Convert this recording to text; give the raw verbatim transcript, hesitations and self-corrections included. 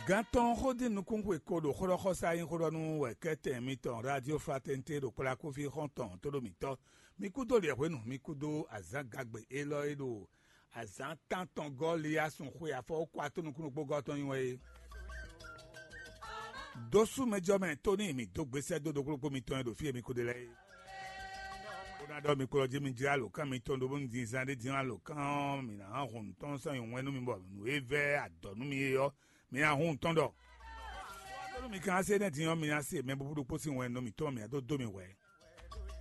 Gantɔn xódin nukúnxwe ko ɖo xó ɖɔ xɔsá nyí xó ɖɔ nú wɛ̌kɛ́tɛn mitɔn Radio Fraternité ɖo kplá kúfí xɔ́ntɔn tó ɖo mǐtɔn. Mi kúdó liɛ̌hwenu, mi kúdó azǎngagbe élɔ́ e ɖo azǎn tántɔn gɔ́ Liyasun xwe afɔ kó ató nukúnnú kpó gɔ́ tɔn nyi wɛ é. Dósú mɛjɔ mɛ tó ní mǐ dó gbésɛ dó ɖokplɔ́kpó mitɔn e ɖo fí e mi ko ɖe lɛ́ɛ é. Bó ná ɖɔ mi kplɔ́ jí mi jlá alǒkan mitɔn ɖó bónú din zán ɖé dín alǒkan ɔ́, mǐ ná hun nǔ tɔn sɔ́ nyi wɛn nú mi bɔ nǔ e vɛ́ adɔ̌ nú mi é ɔ́, mi ná hun nǔ tɔn ɖɔ. Bónú mi ka ná se énɛ́ din ɔ́, mi ná se mɛ búbú ɖokpó sín wɛn nú mǐtɔn mǐ ná dó dó mi hwɛ̌.